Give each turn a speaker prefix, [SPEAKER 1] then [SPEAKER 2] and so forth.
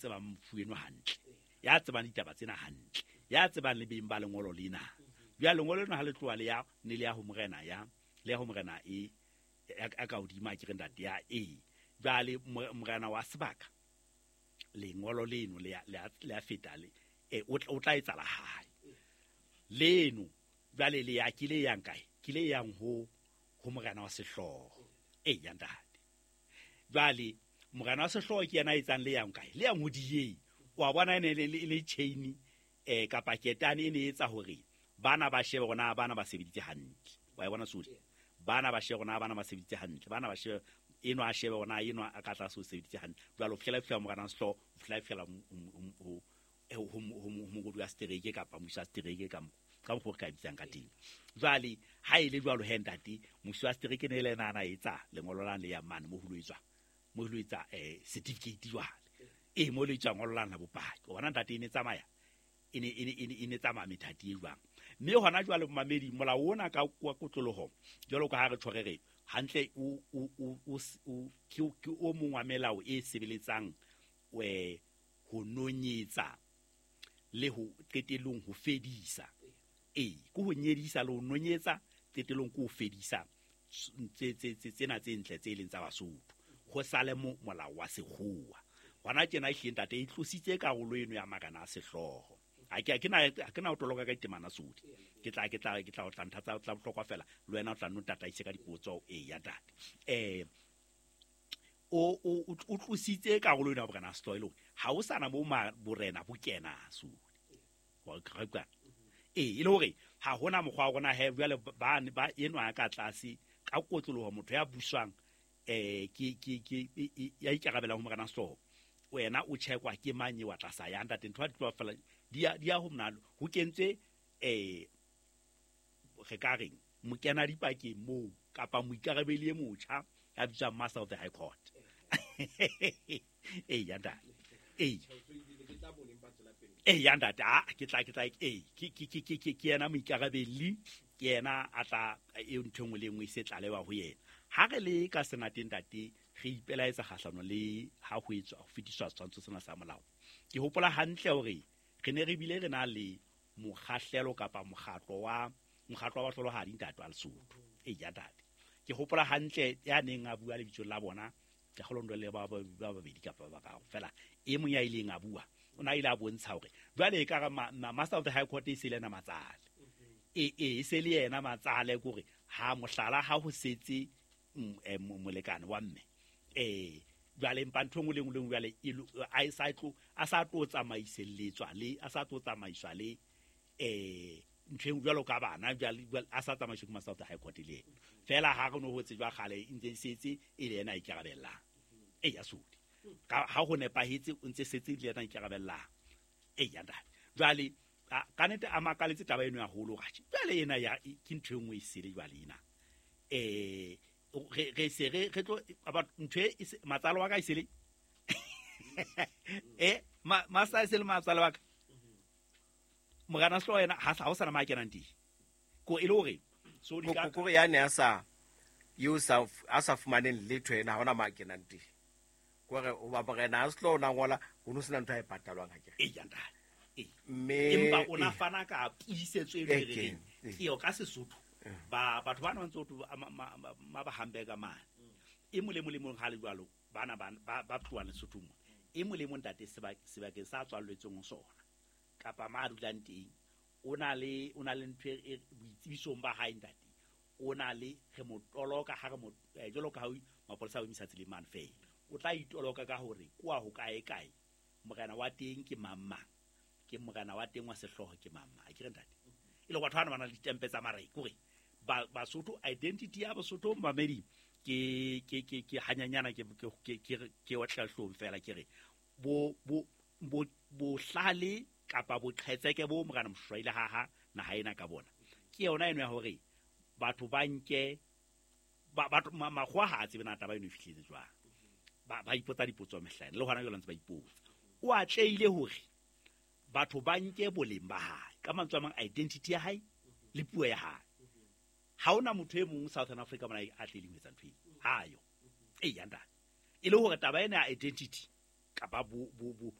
[SPEAKER 1] tsebang mofu eno hantle, ya tsebang ditaba tsena hantle, ya tsebang le beng ba lengolo lena. Jwale lengolo lena ha le tloha le ya ne le ya ho morena, ya le ya ho morena e ya ka hodimo, a ke re ntate ya e. Jwale morena wa sebaka, lengolo leno le ya feta le o tla etsa la hae leno. Jwale le ya ke le yang kae? Ke le yang ho morena wa sehlooho. E ya ntate. Jwale morena wa sehlooho ke yena a etsang le yang kae? Le yang ho diye. Wa bona, e ne le chain kapa ketane e ne etsa hore bana ba shebe hore na bana ba sebeditse hantle. Wa e bona sodi? Bana ba shebe hore na bana ba sebeditse hantle. Bana ba shebe eno, a shebe hore na eno a ka tlase o sebeditse hantle. Jwale o fihlela fihla morena wa sehlooho, o fihlela fihlela ho mongodi wa setereke kapa mmuso wa setereke, ka mokgwa o re ka bitsang ka teng. Jwale ha e le jwalo he ntate, mmuso wa setereke ne le ena a na etsa lengolo lane le yang mane mo ho lo etswa, mo lo etsa certificate. Jwale e mo lo etswa ngolo lane la bopaki. O bona ntate, e ne tsamaya e ne tsamaya methati e jwang. Mme hona jwale, momamedi, molao ona ka wa kotloloho, jwalo ka ha re tjho re re hantle, o ke o mong wa melao e sebeletsang ho nonyetsa le ho qetellong ho fedisa. Ee, ke ho nyedisa le ho nonyetsa, qetellong ke ho fedisa tsena tse ntle tse leng tsa Basotho. Ho sale molao wa sekgowa hona tjena. Ehlile ntate, e tlositse karolo eno ya marena a sehlooho. Ha ke na ho toloka ka ditemana sodi. Ke tla o tla ntha tsa bohlokwa fela, le wena o tla nno tataise ka dipotso. E ya ntate, o tlositse karolo eno ya borena a sehlooho, e le hore ha o sana bo borena bo kena sodi. Wa utlwa? Ee, e le hore ha hona mokgwa wa rona he. Jwale ba enwa ya ka tlase ka kotloloho, motho ya buswang ke ya ikarabelang ho morena sehlooho, wena o checkwa ke mang e wa tlasa ya ntate. Ntho di tloha fela di ya ho mnalo ho kentswe re ka reng mokena dipakeng moo kapa moikarabeli e motjha ya bitswang Master of the High Court. Ee ya ntate, ee. Ee ya ntate, a ke tla ee, ke yena moikarabelli, ke yena a tla e ntho e nngwe le e nngwe e se tlalewa ho yena. Ha re le ka senateng ntate, re ipelaetsa kgahlano le ha ho etswa ho fetiswa setshwantsho sena sa molao. Ke hopola hantle hore re ne re bile re na le mokgahlelo kapa mokgatlo wa bahlolohadi ntate wa Lesotho. Ee ya ntate, ke hopola hantle ya neng a bua lebitsong la bona, ke kgolondo le ba babedi kapa ba bararo fela. E mong ya ileng a bua o ne a ile a bontsha hore jwale e ka re Master of the High Court e se le yena matsale, e se le yena matsale, kore ha mohlala ha ho setse molekane wa mme jwale, empa ntho e nngwe le nngwe le nngwe jwale a sa tlo tsamaiselletswa le a sa tlo tsamaiswa le ntho e jwalo ka bana. Jwale a sa tsamaiswe ke Master of the High Court le ena fela. Ha re no ho tsejwa kgale, e ntse e setse e le yena a ikarabellang. E ya sodi ka ha ho nepahetse, o ntse setse le yena a ikarabellang. E ya ntate, jwale ka nete a makaletse taba eno ya holo ratjhe. Jwale ena ya ke ntho e nngwe e sele. Jwale ena re se re tlo ntho e matsalo wa ka e sele master e sele matsalo wa ka morena sehlooho yena ha o sana ma kenang teng ko e le hore so di ka
[SPEAKER 2] Kore ya ne a sa eo sa a sa fumaneng letho, ena ha hona ma kenang teng, kore hoba morena a sehlooho o na ngola, ho no sena ntho a e patalwang, ha ke re?
[SPEAKER 1] E ya ntate, ee.
[SPEAKER 2] Mme
[SPEAKER 1] Empa o na fana ka puisetso e
[SPEAKER 2] Eh,
[SPEAKER 1] re reng
[SPEAKER 2] ke
[SPEAKER 1] eo ka Sesotho ba batho bana ba ntse ho ma ba hamburger mane e mong le mong le mong. Ha le jwalo, bana ba tlohang Lesothong mo, e mong le mong ntate, sebakeng sa tswalletsweng ho sona kapa ma a dulang teng, o na le ntho e boitsebisong ba hae ntate, o na le re mo toloka ha re mo jwalo ka ha mapolesa a o emisa tseleng mane fela, o tla itoloka ka hore kwa ho kae kae, morena wa teng ke mang mang, ke morena wa teng wa sehlooho ke mang mang, a ke re ntate? E le batho bana ba na le ditempe tsa marena, kore Basotho, identity ya Basotho, mamedi, ke hanyanyana ke otla hlong fela, ke re bo bohlale kapa boqhetseke bo morena Moshoeshoe haha naha ena ka bona ke yona eno ya hore batho ba nke batho makgowa ha a tsebe na taba eno e fihletse jwang. Ba ipotsa dipotso mehlaena le hona jwale ntse ba ipotsa. O atlehile hore batho ba nke boleng ba hae, ka mantswe a mang identity ya hae le puo ya hae. Ha hona motho e mong Southern Africa mona a tlileng ho etsa ntho eo hayo. Ee ya ntate, e le hore taba ena ya identity kapa bo bo bo